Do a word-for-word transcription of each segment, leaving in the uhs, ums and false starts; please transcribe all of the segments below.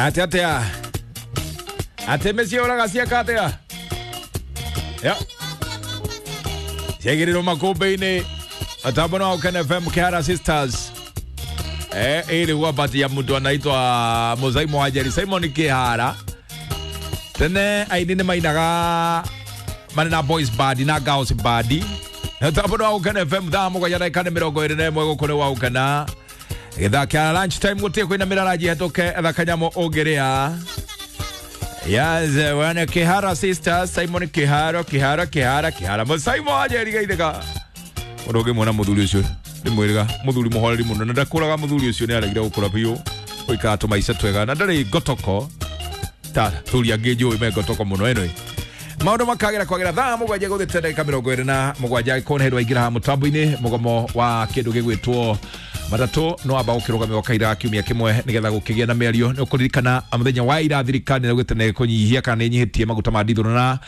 Atia atia. Ate meciũraga cieka atia. Ya. Ciagĩrĩrwo makũmbĩ-inĩ atambo no Ken F M Kihara Sisters. Eh, ilikuwa pati ya mtu anaitwa Musaimo Wajeri Simon Kihara. Tene aini nĩ mainaga marĩ na boys band na girls band. Atambo no Ken F M thaa mũgwanja ndagĩka nĩ mĩrongo ĩrĩ na ĩmwe gũkũ nĩ waũkena. Gĩthaa kĩa lunch time gũtirĩ kwĩna mĩraranji hetũke etha kanyamũ ũngĩrĩa. Yes, wana Kihara Sisters, Simon Kihara, Kihara, Kihara, Kihara. Musaimo Wajeri geithĩka. Mũndũ ũngĩmuona mũthuri ũcio ndĩmwĩrĩga mũthuri mũhoreri mũno na ndakũraga mũthuri ũcio nĩ aregire gũkũra biũ gũikara tũmaica twega na ndarĩ ngotoko ta thuri angĩ njũĩ me ngotoko mũno ĩno maũndũ makagĩra kwagĩra thaa mũgwanja gũthĩte ndagĩka mĩrongo ĩrĩ na mũgwanja angĩkorwo nĩ hĩndĩ waingĩra haha mũtambo-inĩ mũgomo wa kĩndũ gĩgwĩtwo matatũ no amba gũkĩrũgamio kaira ga kiumia kĩmwe nĩgetha gũkĩgĩa na mĩario nĩ ũkũririkana mũthenya wa ira thirikari nĩraugĩte nĩ ĩkũnyihia kana nĩ ĩnyihĩtie maguta ma ndithũrũ na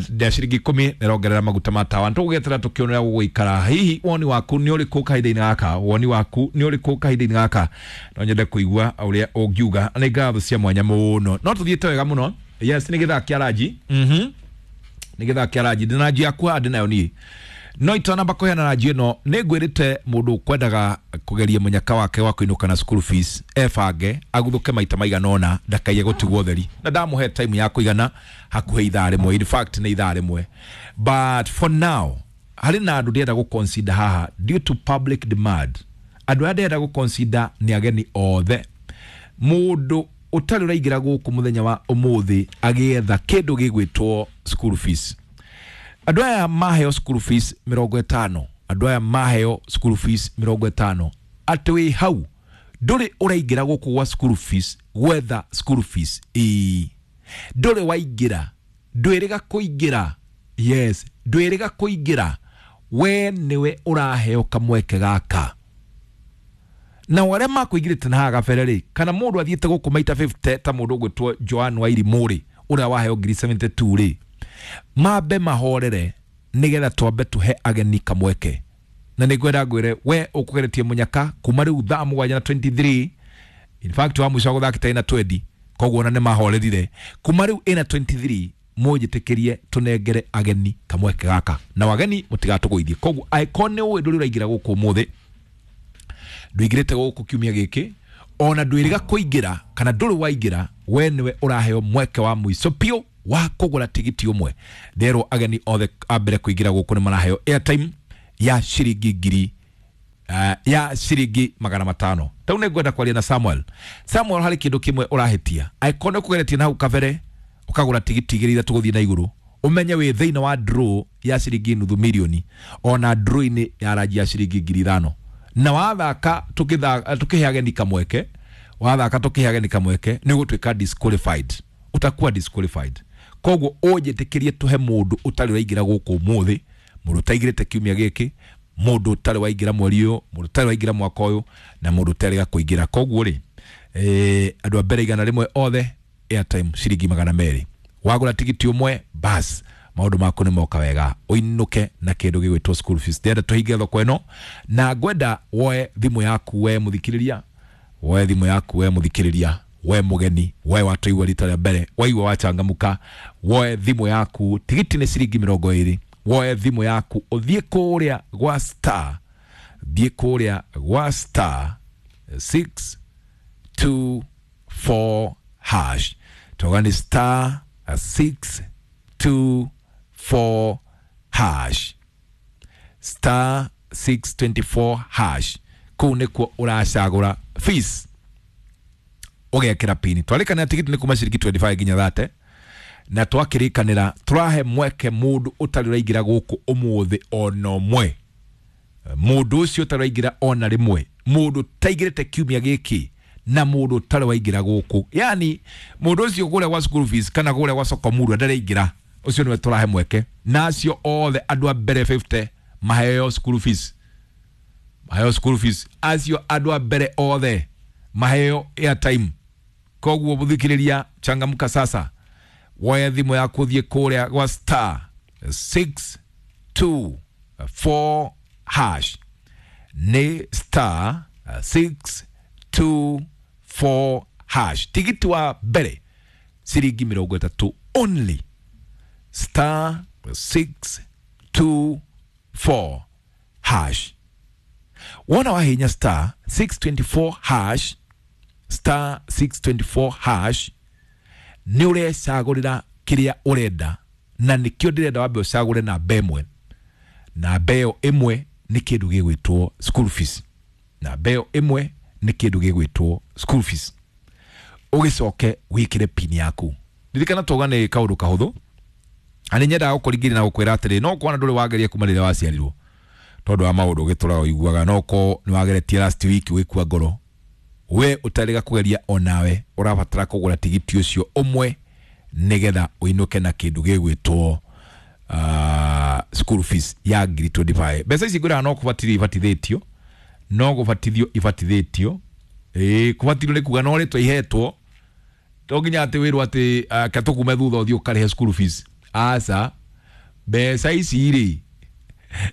na ciringi ikũmi nĩrongerera maguta ma tawa nĩtũgũgĩetera tũkĩone ũrĩa gũgũikara hihi woni waku nĩ ũrĩkũ kahinda-inĩ gaka woni waku nĩ ũrĩkũ kahinda-inĩ gaka no nyende kũigua ũrĩa ũngiuga nĩ ngatho cia mwanya mũno no tũthiĩte wega mũno yes nĩ gĩthaa kĩa ranji mhm nĩ gĩthaa kĩa ranji ndĩ na ranji yakwa ndĩ nayo niĩ no itanamba kũheana ranji ĩno nĩ ngwĩrĩte mũndũ ũkwendaga kũgeria mũnyaka wake wa kũinũka na school fees ebange aguthũke maita maigana ũna ndakaiye gũtigwo ũtheri na ndamũhe time ya kũigana hakuhĩ ithaa rĩmwe in fact nĩ ithaa rĩmwe but for now harĩ na andũ ndĩrenda gũ-consider haha due to public demand andũ arĩa ndĩrenda gũ-consider nĩ ageni othe mũndũ ũtarĩ ũraingĩra gũkũ mũthenya wa ũmũthĩ agĩetha kĩndũ gĩgwĩtwo school fees andũ aya maheo school fees mĩrongo ĩtano andũ aya maheo school fees mĩrongo ĩtano atĩ wĩ hau ndũrĩ ũraingĩra gũkũ gwa school fees gwetha school fees ĩĩ ndũrĩ waingĩra ndwĩrĩga kũingĩra yes ndwĩrĩga kũingĩra we nĩwe ũraheo kamweke gaka na arĩa makũingĩrĩte na haha gabere rĩ kana mũndũ athiĩte gũkũ maita fifty ta mũndũ ũgwĩtwo Joan Wairimũ rĩ ũrĩa waheo ngiri seventy two rĩ mambe mahorere nĩgetha twambe tũhe ageni kamweke na nĩ ngwenda ngwĩre we ũkũgeretie mũnyaka kuma rĩu thaa mũgwanja na twenty three in fact wa mũico gũthakĩte ĩna twenty koguo ona nĩ mahorerire kuma rĩu ĩna twenty three mũnjĩtĩkĩrie tũnengere ageni kamweke gaka na wageni mũtigatũgũithie koguo angĩkorwo nĩ ũĩ ndũrĩ ũraingĩra gũkũ ũmũthĩ ndũingĩrĩte gũkũ kiumia gĩkĩ ona ndwĩrĩga kũingĩra kana ndũrĩ waingĩra we nĩwe ũraheo mweke wa mũico biũ wa kũgũra tigiti ũmwe nderwo ageni othe a mbere kũingĩra gũkũ nĩ maraheo airtime ya ciringi ngiri uh, ya ciringi magana matano tau nĩ ngwenda kwaria na Samuel Samuel harĩ kĩndũ kĩmwe ũrahĩtia angĩkorwo nĩ ũkũgeretie na hau kabere ũkagũra tigiti igĩrĩ ithatũ gũthiĩ na igũrũ ũmenye wĩ thĩinĩ wa draw ya ciringi nuthu mirioni ona draw-inĩ ya ranji ya ciringi ngiri ithano na wathaka tũkĩhe ageni kamweke wathaka tũkĩhe ageni kamweke nĩ ũgũtuĩka disqualified utakuwa disqualified koguo ũnjĩtĩkĩrie tũhe mũndũ ũtarĩ waingĩra gũkũ ũmũthĩ mũndũ ũtaingĩrĩte kiumia gĩkĩ mũndũ ũtarĩ waingĩra mweri ũyũ mũndũ ũtarĩ waingĩra mwaka ũyũ na mũndũ ũtarĩga kũingĩra koguo rĩ eh, andũ a mbere igana rĩmwe othe airtime ciringi magana merĩ wagũra tigiti ũmwe bas maũndũ maku nĩ moka wega ũinũke na kĩndũ gĩgwĩtwo school fees ndĩrenda tũhinge thoko ĩno na ngwenda woe thimũ yaku we mũthikĩrĩria woe thimũ yaku we mũthikĩrĩria we mũgeni we watũigua rita rĩa mbere waigua wachangamuka woe thimũ yaku tigiti nĩ ciringi mĩrongo ĩrĩ woe thimũ yaku ũthiĩ kũrĩa gwa star thiĩ kũrĩa gwa star six two four hash toga nĩ star six two four hash star six twenty four hash kũu nĩkuo ũracagũra fees ũgekĩra pini twarĩkanĩra tigiti nĩ kuma ciringi twenty five nginya thate na twakĩrĩkanĩra tũrahe mweke mũndũ ũtarĩ ũraingĩra gũkũ ũmũthĩ ona ũmwe mũndũ ũcio ũtarĩ waingĩra ona rĩmwe mũndũ ũtaingĩrĩte kiumia gĩkĩ na mũndũ ũtarĩ waingĩra gũkũ yani mũndũ ũcio kũrĩa gwa school fees kana kũrĩa gwa soko murwa ndaraingĩra ũcio nĩwe tũrahe mweke na acio othe andũ a mbere fifty maheo school fees maheo school fees acio andũ a mbere othe maheo airtime koguo mũthikĩrĩria changamka sasa woe thimũ yaku ũthiĩ kũrĩa gwa star six two four hash nĩ star six two four hash. Tigiti wa mbere ciringi mĩrongo ĩtatũ only, star six two four hash. Wona wahinya star six twenty-four hash, star six twenty-four hash, nĩ ũrecagũrĩra kĩrĩa ũrenda, na nĩkĩo ndĩrenda wambe ũcagũre namba ĩmwe. Namba ĩyo ĩmwe nĩ kĩndũ gĩgwĩtwo school fees. Namba ĩyo ĩmwe nĩ kĩndũ gĩgwĩtwo school fees. Ũgĩcoke wĩkĩre pin yaku. Ririkana twauga nĩ kaũndũ kahũthũ, na nĩ nyendaga gũkũringĩrĩria na gũkwĩra atĩrĩ, no kwana ndũrĩ wageria kuma rĩrĩa waciarirwo tondũ wa maũndũ ũgĩtũraga ũiguaga, no ko nĩ wageretie last week wĩkua ngoro, we ũtarĩga kũgeria onawe ũrabatara kũgũra tigiti ũcio ũmwe nĩgetha ũinũke na kĩndũ gĩgwĩtwo uh, school fees ya ngiri twenty-five. Mbeca ici ngwĩraga no kũbatithio ibatithĩtio, no gũbatithio ibatithĩtio. Ĩĩ, kũbatithio nĩ kuga no rĩtwa ihetwo, to nginya atĩ wĩrwo atĩ uh, ka tũkume thutha ũthiĩ ũkarĩhe school fees. Aca, mbeca ici rĩ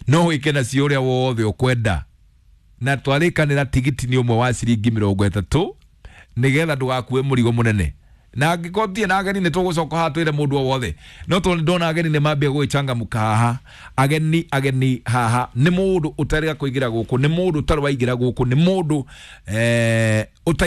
no wĩke nacio ũrĩa wothe ũkwenda, na twarĩkanĩra tigiti nĩ ũmwe wa ciringi mĩrongo ĩtatũ nĩgetha ndũgakue mũrigo mũnene. Na angĩkorwo tie na ageni nĩ tũgũcoka haha twĩre mũndũ o wothe, no tondũ ndona ageni nĩ mambia gwĩchangamũka haha. Ageni ageni haha nĩ mũndũ ũtarĩga kũingĩra gũkũ, nĩ mũndũ ũtarĩ waingĩra gũkũ, nĩ mũndũ eh, ũta